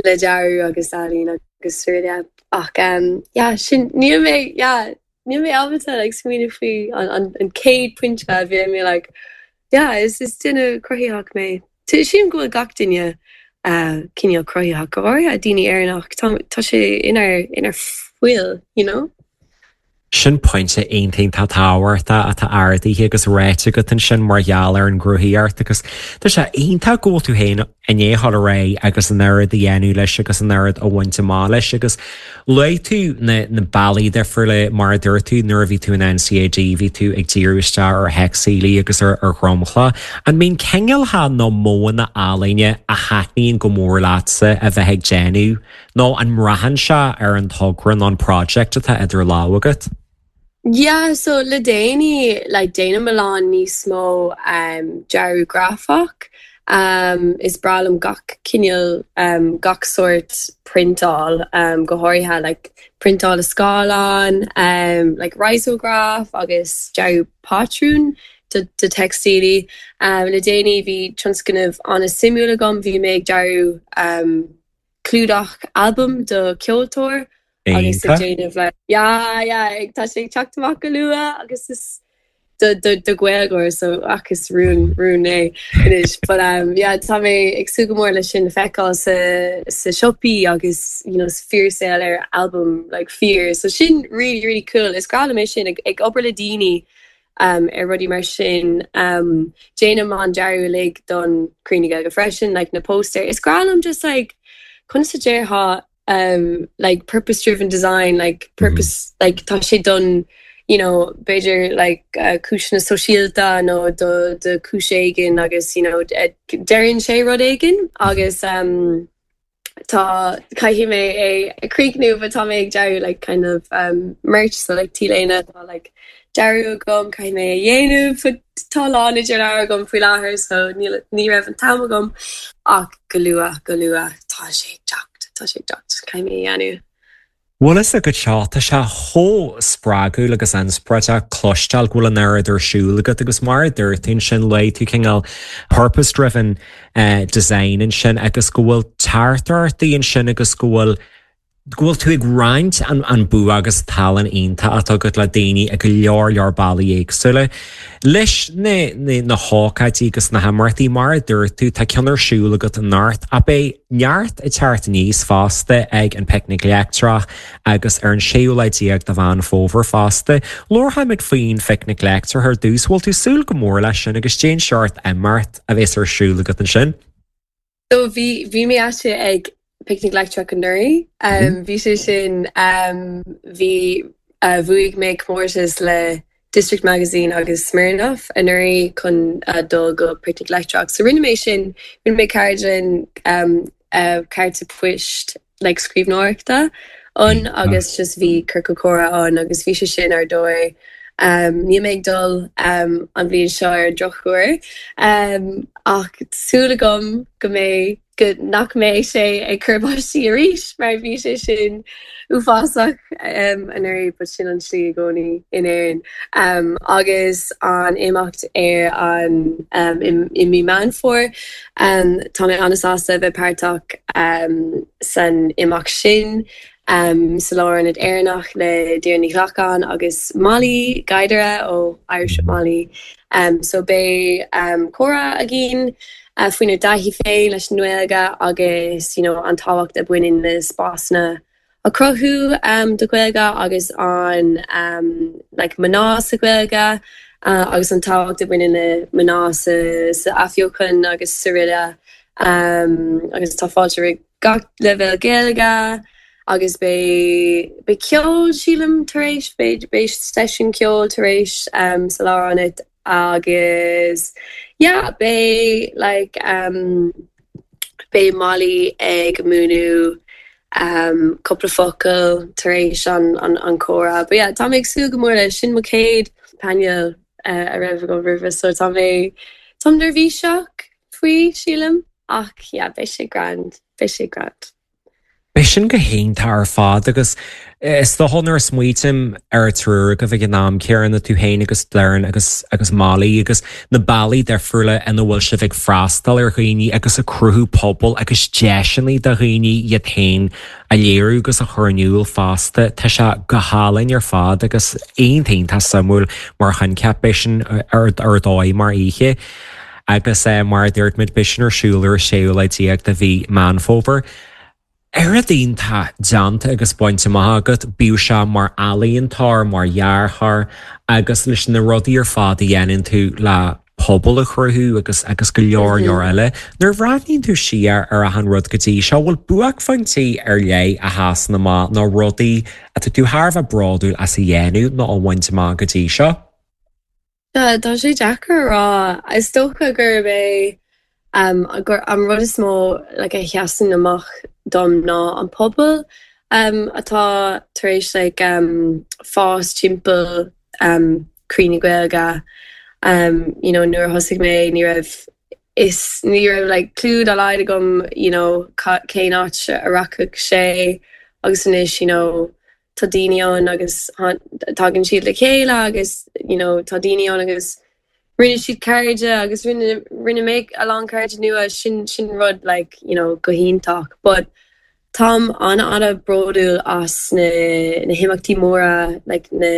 le dearadh agus ealaín agus yeah, ach um, yeah, sin níl mé yeah, níl mé ábalta like, smaoineamh faoi an, an, an céad pointe a bhí mé like, yeah, is is duine cruthaitheach mé. Sílim go bhfuil gach duine uh, cineál cruthaitheach go háirithe daoine Éireannach tá tá sé inár inár bhfuil, you know? Sin pointe iontach tábhachtach atá ardaithe agus ráite agat ansin mar gheall ar an gcruthaitheacht agus tá sé iontach go bhfuil tú féin i ndiaidh dul ar aghaidh agus an oiread a dhéanamh leis agus an oiread a bhaint amach leis agus luaigh tú na, na bealaí difriúla mar a dúirt tú nuair a bhí tú in NCAD bhí tú ag díriú isteach ar theicstílí agus ar ar dhromchla. An mbíonn cineálacha nó modhanna ealaíne a thaitníonn go mór leatsa a bheith ag déanamh nó an mbraitheann sé ar an togra nó an project atá idir lámha agat? Yeah, so le déanaí like, déanaim a lán níos mó um, dearadh grafach. Um, is breá liom gach cineál um, gach sórt priontáil um, go háirithe like, priontáil a scáileán, um, like risograph agus dearadh patrún do, do teicstílí. Um, le déanaí bhí tionscnamh an-suimiúil agam bhí mé ag dearadh um, clúdach album do ceoltóir. agus ag déanamh le yeah yeah tá sé teacht amach go luath agus is do do do Ghaeilgeoir so ach is rún rún é anois but um yeah tá mé ag súil go mór leis sin feiceáil sa sa siopaí agus you know fíorshaol ar album like fíor so sin really really cool is breá liom é sin ag, ag obair le daoine um, ar rudaí mar sin um, déanaim an dearadh uilig don Croí na Gaeilge freisin like na poster is breá liom just like conas a déarfá um, like purpose driven design like purpose mm -hmm. like tá sé don you know b'fhéidir like uh, cúiseanna sóisialta nó do do chúis éigin agus you know deireann sé rud éigin agus um, tá caithfidh mé é a chríochnú but tá mé ag dearadh like kind of um, merch so like t-léine tá like dearadh agam caithfidh mé a dhéanamh but tá lán idir lámha agam faoi láthair so ní ní raibh an t-am agam ach go luath go luath tá sé teacht tá sé teacht caithfidh mé a dhéanamh. Bhfuil a go seo tá sé chomh spreagúil agus inspioráideach cloisteáil go bhfuil an oiread ar siúl agat agus mar a dúirt tú ansin luaigh tú cineál purpose driven uh, design ansin agus go bhfuil teachtaireachtaí ansin agus go bhfuil go bhfuil tú ag roinnt an, an bua agus tallann iontach atá agat le daoine ag go leor leor bealaí éagsúla. Leis na, na, na hócáidí agus na himeachtaí mar a dúirt tú tá ceann ar siúl agat anocht ach beidh neart ag teacht aníos fosta ag an Picnic Leictreach agus ar an séú lá déag de Mheán Fómhair fosta. Labharfaimid faoin Phicnic Leictreach ar dtús bhfuil tú súil go mór leis sin agus cén seort imeacht a bheas ar siúl agat ansin. So bhí bhí mé ag Picnic Leictreach anuraidh. Um, bhí sé sin um, bhí uh, bhuaigh mé comórtas le District Magazine agus Smirnoff anuraidh chun uh, dul go Picnic Leictreach. So rinne mé sin rinne mé ceardlann um, uh, cárta poist like, scríbhneoireachta ann agus just bhí ciorcal comhrá ann agus bhí sé sin ar dóigh. Um, Níl mé ag dul um, an bhliain seo ar drochuair um, ach súil agam go mbeidh go nach mbeidh sé ag cur báistí arís mar bhí sé sin uafásach um, anuraidh but sin an slí i gcónaí in Éirinn. Um, agus an imeacht ar an um, i, i mí Meán Fómhair um, tá mé an-sásta bheith páirteach um, san imeacht sin. Um, sa Lárionad Éireannach le Deirdre Ní Ghlacáin agus Molly Guidera ó Irish Molly. Um, so beidh um, comhrá againn uh, faoinár dtaithí féin leis an nGaeilge agus you know, an tábhacht a bhaineann le spásanna a chruthú um, do Ghaeilge agus an um, like, mná sa Ghaeilge uh, agus an tábhacht a bhaineann le mná sa sa athbheochan agus araile um, agus tá fáilte roimh gach leibhéal Gaeilge agus beidh beidh ceol sílim tar éis beidh beidh seisiún ceoil tar éis um, sa lárionad agus yeah, beidh like um, beidh Molly ag múineadh um, cúpla focal tar éis an, an, an comhrá. But yeah, tá mé ag súil go mór leis sin mo chéad painéal uh, a raibh agam roimhe so tá mé Tá neirbhíseach faoi sílim ach yeah, beidh sé grand, beidh sé grand. Beidh sin go hiontach ar fad agus is dócha nuair a smaoiním ar an triúr agaibh ag an am céanna tú féin agus Doireann agus agus Molly agus na bealaí difriúla ina bhfuil sibh ag freastal ar dhaoine agus ag cruthú pobal agus deiseanna do dhaoine iad féin a léiriú agus a chur in iúl fosta Tá sé go hálainn ar fad agus iontach suimiúil mar choincheap beidh sin ar ar dóigh mar oíche. Agus eh, mar a dúirt muid beidh sin ar siúl ar an séú lá déag de mhí Meán Fómhair. Oiread iontach déanta agus bainte amach agat, bíodh sé mar ealaíontóir, mar dhearthóir agus leis na rudaí ar fad a dhéanann tú le pobal a chruthú agus agus go leor leor eile. Nuair a bhreathnaíonn tú siar ar achan rud go dtí seo bhfuil buaicphointí ar leith a sheasann amach nó rudaí atá tú thar a bheith bródúil as a dhéanamh nó a bhaint amach go dtí seo? Tá sé deacair a rá is dócha gurb é um, gur an rud is mó like, a sheasann amach dom ná an pobal um, atá tar éis like, um, fás timpeall um, Croí na Gaeilge. Um, you know, nuair a thosaigh mé ní raibh is ní raibh like, clue dá laghad agam you know, cén áit a rachadh sé agus anois you know, tá daoine ann agus tagann siad le chéile agus you know, tá daoine ann agus rinne siad cairde agus rinne rinne mé a lán cairde nua sin sin rud like, you know, go hiontach. But táim an an-bhródúil as na, na himeachtaí móra like, na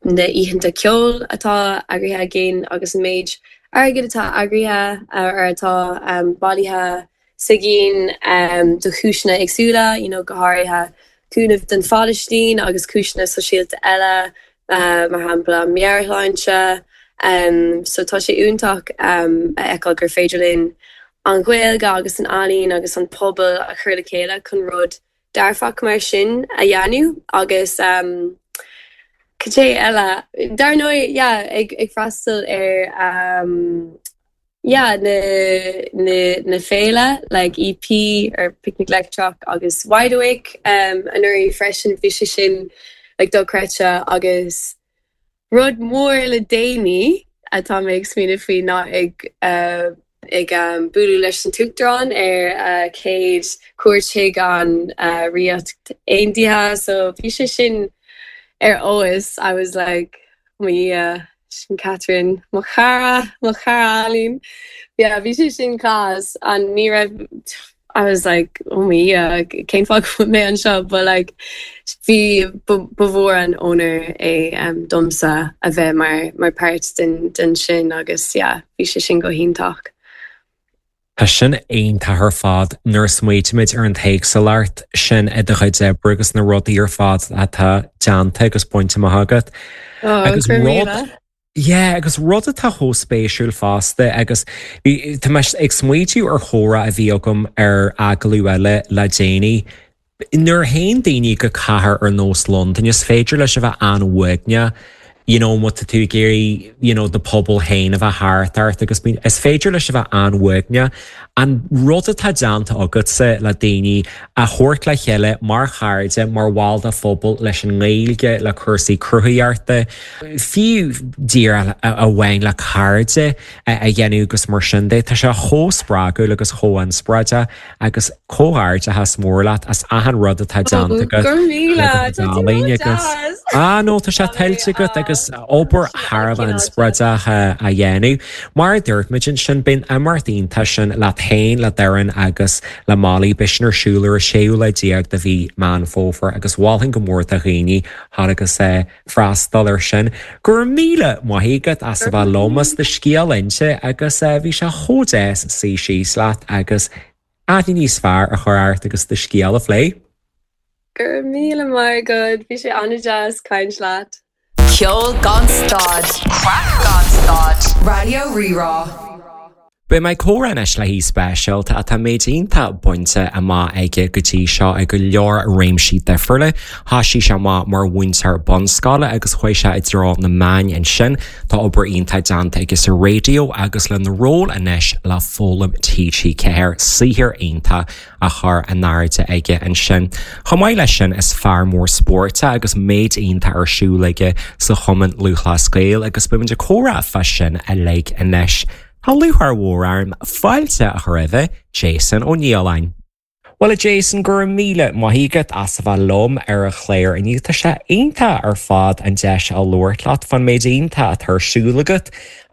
na oícheanta ceoil atá eagraithe againn agus an méid airgid atá eagraithe ar atá um, bailithe againn um, do chúiseanna éagsúla, you know, go háirithe cúnamh don Phalaistín agus cúiseanna sóisialta eile uh, mar shampla meabhairshláinte. Um, so tá sé iontach um, a fheiceáil gur féidir linn an Ghaeilge agus an ealaín agus an pobal a chur le chéile chun rud dearfach mar sin a dhéanamh agus um, Cad é eile dar ndóigh yeah, ag, ag freastal ar um, yeah, na, na, na féile like EP ar Picnic Leictreach agus Wide Awake um, anuraidh freisin bhí sé sin like, dochreidte agus rud mór le déanaí atá mé ag smaoineamh faoi ná ag uh, ag um, bualadh leis an tUachtarán ar uh, céad cuairt chuig an uh, Ríocht Aontaithe so bhí sé sin ar fheabhas I was like me uh, sin Catherine mo chara mo chara Aline yeah bhí sé sin class an ní raibh I was like oh me uh, cén fáth mé anseo but like bhí ba mhór an onóir é um, domsa a bheith mar mar páirt den, den sin agus yeah, bhí sé sin go hiontach. Tá sin iontach ar fad nuair a smaoinímid ar an éagsúlacht sin i do chuid oibre agus na rudaí ar fad atá déanta agus bainte amach agat. Oh, Agus rud Yeah, agus rud atá chomh spéisiúil fosta agus tá mé ag smaoitiú ar chomhrá a bhí agam ar agallamh eile le déanaí. Nuair a théann daoine go cathair ar nós Londain is féidir leis a bheith an-uaigneach you know, má tá tú ag iarraidh you know, do phobal féin a bheith thart ort agus bíonn is féidir leis a bheith an-uaigneach. An rud atá déanta agatsa le daoine a thabhairt le chéile mar chairde mar bhaill de phobal leis an nGaeilge le cúrsaí cruthaitheachta, fiú díreach amháin le cairde a dhéanamh agus mar sin de tá sé chomh spreagúil agus chomh inspioráideach agus comhghairdeachas mór leat as achan rud atá déanta agat agus Ah nó tá sé tuillte agat agus obair thar a bheith inspioráideach a dhéanamh. Mar a dúirt muid ansin bíonn imeacht iontach sin leat féin le Doireann agus le Molly beidh sin ar siúl ar an séú lá déag de mhí Meán Fómhair agus mholfainn go mór do dhaoine thar agus freastal ar sin. Go raibh míle maith agat as a bheith liom as do scéal a inse agus bhí sé chomh deas suí síos leat agus aithne níos fearr a chur ort agus do scéal a phlé. Gur míle maith agat bhí sé an-deas caint leat. Ceol gan stad. Craic gan stad. Raidió Rí-Rá. Beidh mé ag comhrá anois le haoi speisialta atá méid iontach bainte amach aige go dtí seo i go leor réimsí difriúla. Thosaigh sé amach mar mhúinteoir bunscoile agus chuaigh sé i dtreo na meáin ansin. Tá obair iontach déanta aige sa raidió agus lena ról anois le Foghlaim TG Ceathair saothar iontach á chur in airde aige ansin. Chomh maith leis sin is fear mór spóirt é agus méid iontach ar siúl aige sa Chumann Lúthchleas Gael agus beimid ag comhrá fá sin uilig anois. Tá lúcháir mhór orm fáilte a chur roimh Jason Ó Nialláin. Bhuel a Jason go raibh míle maith agat as a bheith liom ar an chlár inniu tá sé iontach ar fad an deis a labhairt leat fán méid iontach atá ar siúl agat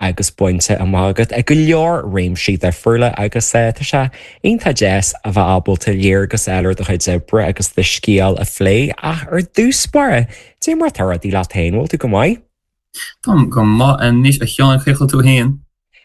agus bainte amach agat ag go leor réimsí difriúla agus eh, tá sé iontach deas a bheith ábalta léargas eile ar do chuid oibre agus do scéal a phlé ach ar dtús báire, Dé mar atá rudaí leat féin bhfuil tú go maith? Táim go maith anois a Sheáin cén chaoi a bhfuil tú féin.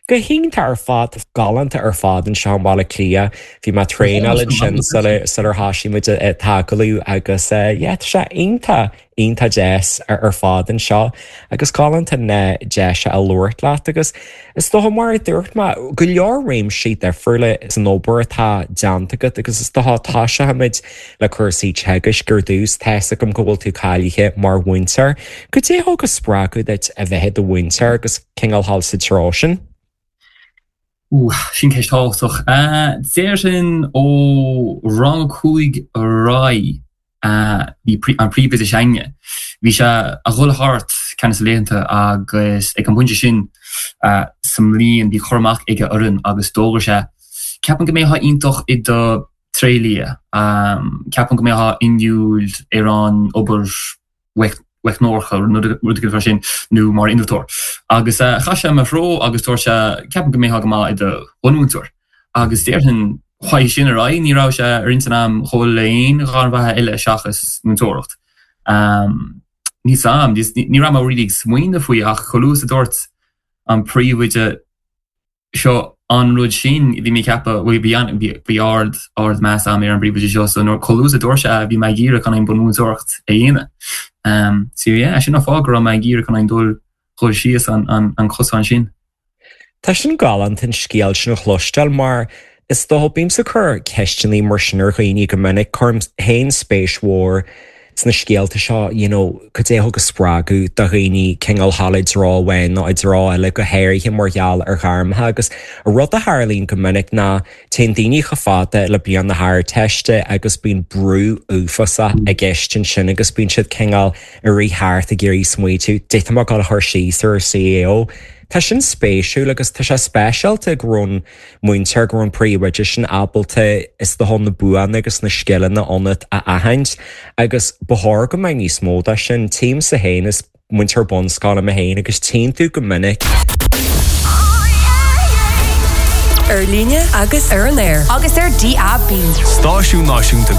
Go hiontach ar fad galánta ar fad anseo i mBaile Átha Cliath, bhí mé traenáil ansin sular thosaigh muid an t-agallamh agus yeah tá sé iontach iontach deas ar fad anseo agus galánta na deis a labhairt leat agus is dócha mar a dúirt mé go leor réimsí difriúla san obair atá déanta agat agus is dócha tosóimid le cúrsaí teagaisc ar dtús tá a fhios agam go bhfuil tú cáilithe mar mhúinteoir. Cad é a thug an spreagadh duit a bheith i do mhúinteoir agus cineál dul sa treo sin? Ooh, sin ceist thábhachtach. Déarfainn ó rang a cúig ar aghaidh bhí an príomhoide s'againne. Bhí sé a dhul thart ceann de na laethanta agus ag an bpointe sin sa mbliain bhí cur amach aige orainn agus d'fhógair sé, ceapaim go mbeifeá iontach i do thréidlia, ceapaim go mbeifeá inniúil ar an obair mheicneoireachta, rud éigin mar sin, nó mar innealtóir. Agus chas sé i mo threo agus dúirt sé, ceapaim go mbeifeá go maith i do bhunmhúinteoir. Agus déarfainn, uaidh sin ar aghaidh, ní raibh sé ar intinn agam dhul le aon ghairm bheatha eile seachas múinteoireacht. Níl 's a'm, ní raibh mé really ag smaoineamh faoi ach chomh luath is a dúirt an príomhoide seo an rud sin, bhí mé ag ceapadh, bhuel bhí an, bhí, bhí ard, ard meas agam ar an bpríomhoide seo so nuair, chomh luath is a dúirt sé é, bhí mé ag iarraidh chun an bunmhúinteoireacht a dhéanamh. Um, so yeah, sin an fáth go raibh mé ag iarraidh chun an dul, dhul síos an, an, an cosán sin. Tá sin galánta an scéal sin a chloisteáil mar is dócha bímse ag cur ceisteanna mar sin ar dhaoine go minic, cuirim féin spéis mhór sna scéalta seo, you know, cad é a thug an spreagadh do dhaoine cineál dhul i dtreo amháin nó i dtreo eile, go háirithe mar gheall ar ghairmeacha agus an rud a tharlaíonn go minic ná téann daoine chomh fada le bliain na hArdteiste agus bíonn brú uafásach i gceist ansin agus bíonn siad cineál ag rith thart ag iarraidh smaoitiú, dé tá mé ag dul a chur síos ar an CAO. Tá sin spéisiúil agus tá sé speisialta go raibh an múinteoir, go raibh an príomhoide sin ábalta is dócha na buanna agus na scileanna ionat a aithint agus ba chóir go mbeadh níos mó de sin. Tímse féin is múinteoir bunscoile mé féin agus tchíonn tú go minic. Ar líne agus ar an aer. Agus ar DAB. Stáisiún Náisiúnta